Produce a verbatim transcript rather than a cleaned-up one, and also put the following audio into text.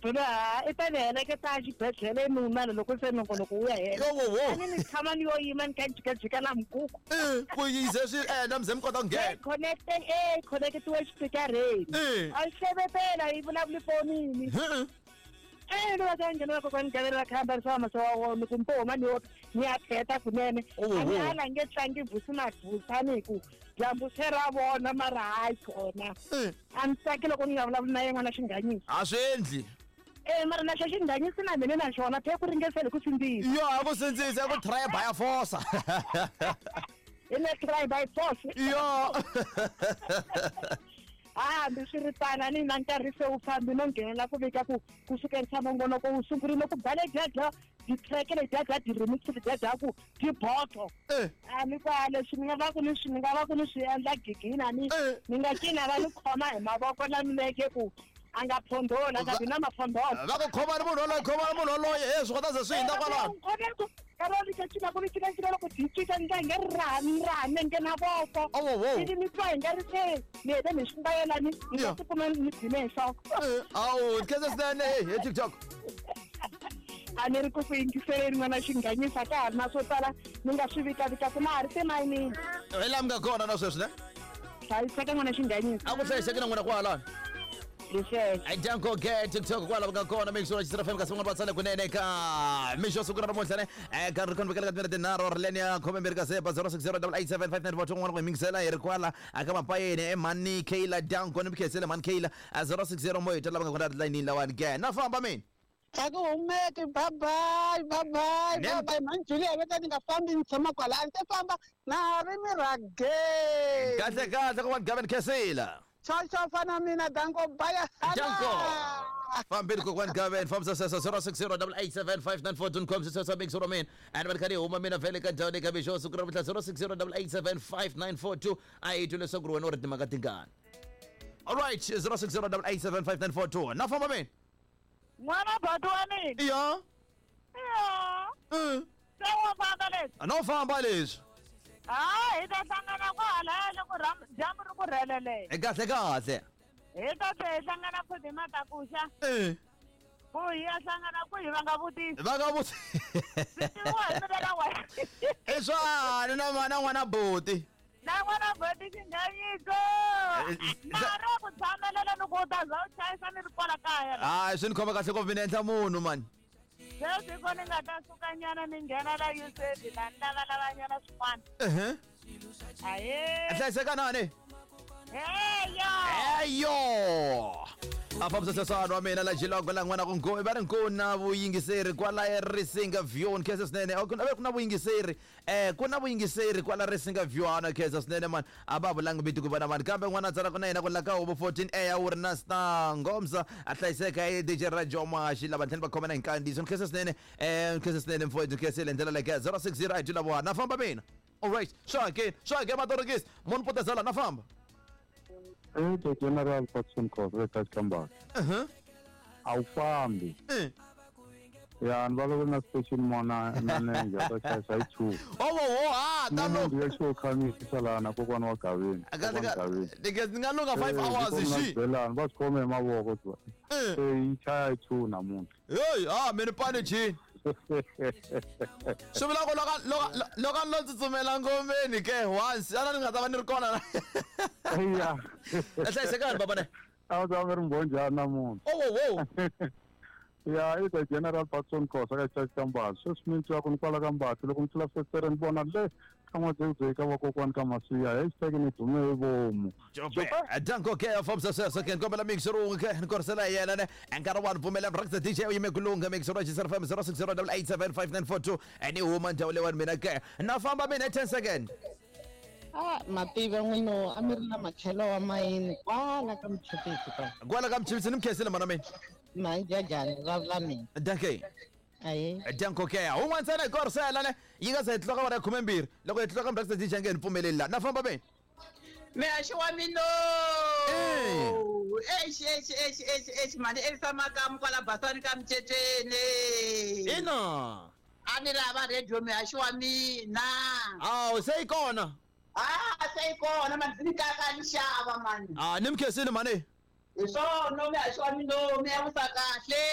Bula i ta ni heleketa xibedhlele nuna loko se nongonoko wu ya hela. Yo wo wo. A ni ni tshama ni yo yima ni kha ni jikajika na mikuku. Eh, ku yize swi endla mi ze mi kota ku nghena. Connect eh connectiwe xipikareni. Eh. A yi hlevetela yi vulavula fonini. Eh. Eh ni va ka nghena kokwani Gaveni va khamba ri swa wa wona ku mpoma ni yo ni ya pheta kunene. Oh, A ni oh. ala nge tlangi vusi madvusa ni ku dyambu se ra vona mara hayi kona. Eh. A ni tsaki loko ni nga vulavuli na yena n'wana xinghanyisi. A swi endli. Eh mara na xo xinghanyisi na mina na xona phe ku ringesele ku sindzisa. Yo a ku sindzisa ku try by force. Hi le try by force. Yo. Ah, hambiswiritano a ni na nkarhi se wu fambi no nghenela ku vika ku ku sukerisa nongonoko wu sungurile ku ba ledya dya ti-track ledya dya ti-remix ledya dya ku tiboto. Eh. A ni kwa leswi ni nga va ku ni swi ni nga va ku ni swi endla gigina ni Eh. ni nga cina va ni khoma hi mavoko la milenge ku a nga phondoli a nga bi na maphondolo. Va ku khoma ni munhu yoloye khoma ni munhu yoloye he swi kota ze swi hindza kwalano. Ka ni ka cina ku ni cina cina loko byi cinca ni nga hi nga ri raha ni raha nenge na voko. Oh, oh, oh. Ivi ni twa hi nga ri se ni hete ni swi mbayela ni ni Yeah. nga tikuma ni dzime hi nhloko. Eh, awu khensa swinene hey hi TikTok. A ni ri ku ku yingiseleni n'wana xinghanyisa ka ha ri na swo tala ni nga swi vikavikaku na ha ri timayinini. Hi laha mi nga kona na sweswi ne? Hlayiseka n'wana xinghanyisa. A ku hlayiseki na n'wina kwalano. Hi sweswo. Ai danko ke TikTok kwala nga kona make sure Jisara F M kasi van'wana va tsale kunene ka mixo siku ra namuntlha ne eh ka ri khonvekela ka timinete tinharhu ri leni ya khume mbirhi ka sepa zero six zero double eight seven five nine four two n'wana ku hi mingisela hi ri kwala aka mapayeni e mhani Kayla danko ni mi khensile mhani Kayla zero six zero mo hi twa lava nga kona layinini lawani ke na famba mina. A ku humeki bye bye bye bye Nem- bye bye mhani Julia veta ni nga fambi ni tshama kwala a ni te famba na ha ri mi rhage. Kahle kahle kokwani Gavin Khensile. Chocho fana mina danko baya Danko. Fambile kokwani Gavin fambisa sweswo zero six zero double eight seven five nine four two com sweswo make sure mina and va ri kha ni huma mina vhele ka ndhawu leyi ka mixo siku ra namuntlha zero six zero double eight seven five nine four two a hi twi leswaku ri wena u ri timhaka tingani. Alright zero six zero double eight seven five nine four two na famba mina. N'wana boti wa mina. Ya. Ya. Mm. Se wa famba leswi. A no famba leswi. Ah, hi ta hlangana kwalaya loko dyambu ri ku rhelelele. Kahle kahle. Hi ta tlhe hi hlangana futhi hi matakuxa. Eh. Ku hi ya hlangana ku hi va nga vutisi. Va nga vutisi. Swi tiviwa hi mina na wena. I swani na na n'wana buti. Na n'wana buti xinghanyiso. Na ri ku tshamelela ni ku u ta za u chayisa ni ri kwala kaya. Hayi swi ni khoma kahle ngopfu mina endla munhu mani. Sweswi ko ni nga ta sukanyana ni nghena la U S A la ni lavalavanyana swin'wana. Ehe. Ahee. Hlayiseka nani? Heyo. Heyo. A fambisa sweswana wa mina la Jilongo la n'wana ku nko va ri nko na vuyingiseri kwala Risinga View ni khensa swinene ku na ku na vuyingiseri eh ku na vuyingiseri kwala Risinga View ana khensa swinene mani a va vulangi vito ku vona mani kambe n'wana tsala ku na yena ku la ka huvo fourteen A ya wu ri na Star Ngomsa a hlayiseka hi D J Rajo Mashi lava tlhela va khomana hi nkandziyiso ni khensa swinene eh ni khensa swinene mfowethu ni khensile ndlela leyi ka zero six zero eight lava na famba mina. Alright swa ke swa ke matorokisi munhu potezela na famba. Eh, the General Patson Khosa ka Kambala. Uh-huh. A wu fambi. Eh. Ya ni vulavula na station mona na nenge ta chayisa hi two. Oh oh ah tano. Ni ya xo khamisa lana kokwana wa Gavin. Kahle ka ni nga lunga five hours xi. Belani va khome hi mavoko twa. Eh. Se yi chaya hi two namuntlha. Hey, ah mina pani chi. Swi vula ku loko loko loko no tsutsumela ngomeni ke once ana ni nga ta va ni ri kona. Ya. Hlayisekani baba ne. A wu ta va ri mbhonjana namuntlha. Oh oh oh. Ya i the General Patson Khosa ka Church Kambala. Sweswi mi twa ku ni kwala ka Mbatsi loko ni tlula festere ni vona le ka n'wadzekudze ka vakokwani ka Masiya hashtag ni dume hi vomu. Danko ke fambisa sweswo ke nkombela mixer wun'we ke ni korisela hi yena ne nkarhi wa ni pfumela Breakfast D J u yime ku lungha mixer wa Jisara F M zero six zero double eight seven five nine four two ni huma ndhawu leyiwani mina ke na famba mina ten second. Ah, mativa n'wino a mi ri na makhelo wa mayini kwala ka Mchipisi ka. Kwala ka Mchipisi ni mi khensile mana mina. Manjajani vulavula mina. Danke. Aye. Danko ke un'wana ntsena hi korisela ne yi nga se hi tlula ka wara ya khume mbirhi loko hi tlula ka Breakfast D J nge ni pfumeleli la na famba mina. Mehaxi wa mina. Exi exi exi exi exi mani Elisa Makamu kwala Basani ka Mceceni. Ina. A ni lava radio mehaxi wa mina. Awu se yi kona. Ah se yi kona mani ndzi ni kaka ni xava mani. Ah ni mi khensile mani. Hi swona mehaxi wa mina mi ya vusa kahle.